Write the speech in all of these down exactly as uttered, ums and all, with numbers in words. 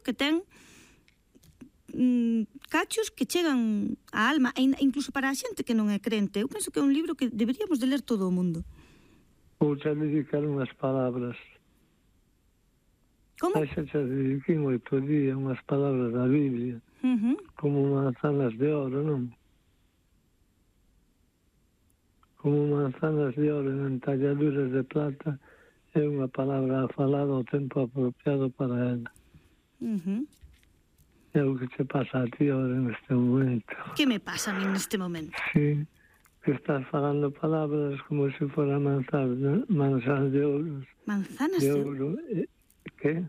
que ten mm, cachos que chegan á alma, e incluso para a xente que non é crente. Eu penso que é un libro que deberíamos de ler todo o mundo. Vou xa dedicar unhas palabras. Como? Xa xa dediquei oito días unhas palabras da Biblia, Uh-huh. como manzanas de oro, non? Como manzanas de oro en talladuras de plata, é unha palabra falada ao tempo apropiado para ela. Uh-huh. É o que te pasa a ti ahora neste momento. Que me pasa a mí neste momento? Sí, que estás falando palabras como se fuera manzas, manzas de ouro. Manzanas de de ouro. ouro? Eh, que?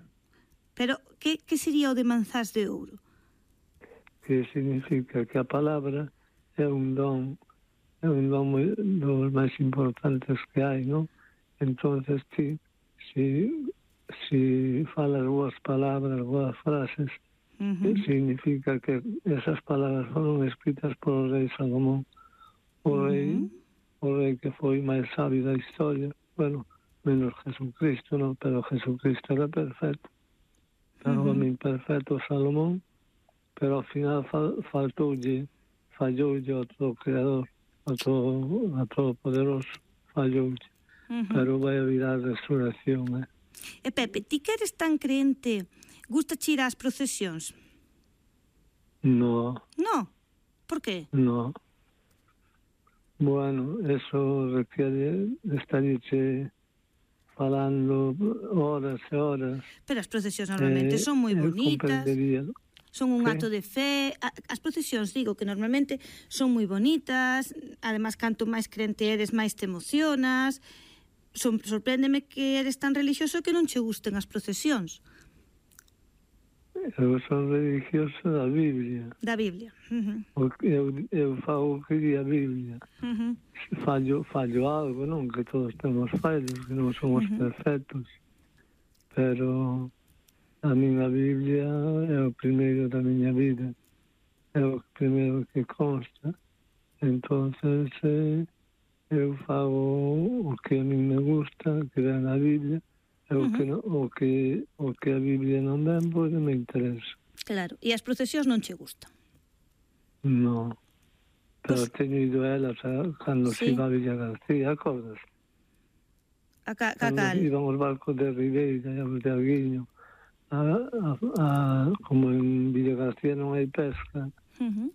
Pero, que, que sería o de manzás de ouro? Que significa que a palabra é un don, é un don moi, dos máis importantes que hai, non? Entonces ti, si, si falas boas palabras, boas frases, Uh-huh. significa que esas palabras foron escritas por o rei Salomón, o Uh-huh. rei, o rei que foi máis sabio da historia, bueno, menos Jesucristo, non? Pero Jesucristo era perfecto, pero uh-huh. o homem perfecto Salomón, pero ao final fal, faltoulle, falloulle outro creador, outro, outro poderoso, falloulle. Uh-huh. Pero vai haber a resurrección, eh? E Pepe, ti que eres tan creente, gusta ir ás procesións? No. No? Por qué? No. Bueno, eso requiere estarche falando horas e horas. Pero as procesións normalmente eh, son moi bonitas. Son un acto de fe. As procesións, digo, que normalmente son moi bonitas. Ademais, canto máis crente eres, máis te emocionas. Son, sorpréndeme que eres tan religioso que non che gusten as procesións. Eu son religioso da Biblia. Da Biblia. Uh-huh. Eu, eu fago o que di a Biblia. Uh-huh. Fallo, fallo algo, non? Que todos temos fallos, que non somos uh-huh. perfectos. Pero a miña Biblia é o primeiro da miña vida. É o primeiro que consta. Entonces, eh, eu fago o que a mí me gusta, que ven na Biblia, e o, uh-huh. que no, o, que, o que a Biblia non ven, pois me interesa. Claro, e as procesións non che gustan? Non, pero pues, teño ido a elas cando sí. se iba a Villa García, acordas? A ca, ca cal? Iban os barcos de Ribeira e os de Arguiño, a, a, a, como en Villa García non hai pesca, uh-huh.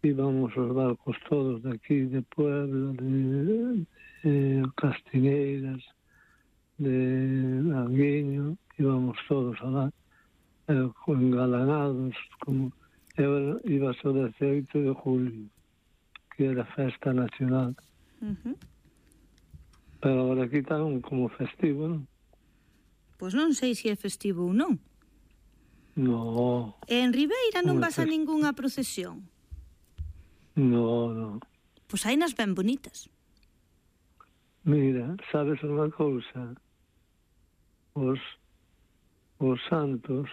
íbamos os barcos todos de aquí, de Puebla, de, de Castineiras, de Arguiño, íbamos todos alá, eh, engalanados, como eu iba o dezaoito de julio, que era festa nacional. Uh-huh. Pero agora aquí están como festivo, non? Pois non sei se é festivo ou non. No. E en Ribeira non vas a ningunha procesión? No, no. Pois hai nas ben bonitas. Mira, sabes unha cousa? Os, os santos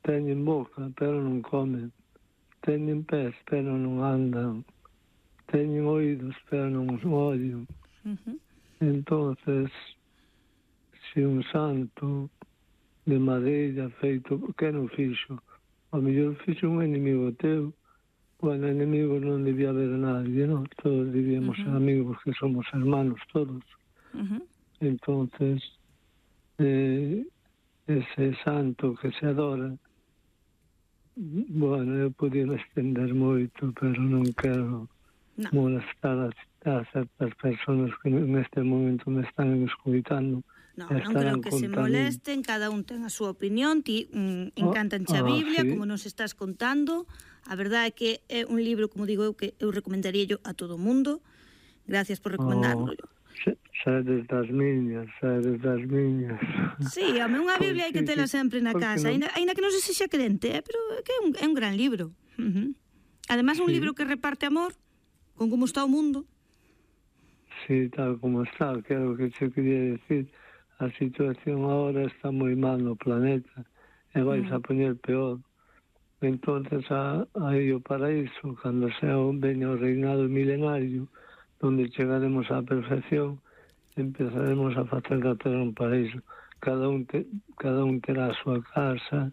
teñen boca, pero non comen. Teñen pés, pero non andan. Teñen oídos, pero non os ollan. Uh-huh. Entonces, se un santo de madeira feito, que non fixo? O mellor fixo un enemigo teu. Bueno, enemigos non debía haber nadie, non? Todos debíamos uh-huh. ser amigos, que somos hermanos todos. Uh-huh. Entonces, eh, ese santo que se adora, bueno, eu podía estender moito, pero non quero no. molestar a, a certas personas que neste momento me están escuitando. No, non creo que se molesten, cada un ten a súa opinión, ti mm, encantanche a Biblia, ah, sí. como nos estás contando. A verdade é que é un libro, como digo eu, que eu recomendaría yo a todo o mundo. Gracias por recomendarlo. Oh, sedes das miñas, sedes das miñas. Sí, home, unha Biblia hai que tela sempre na casa, no? Ainda que non se sexa crente, eh? Pero é que é un, é un gran libro. Uh-huh. Además, un sí. libro que reparte amor, con como está o mundo. Sí, tal como está, que é o que se quería decir. A situación agora está moi mal no planeta e vais mm. a poñer peor. Entonces, aí o paraíso, cando sea un veño reinado milenario, onde chegaremos á perfección, empezaremos a facer da terra un paraíso. Cada un, te, cada un terá a súa casa,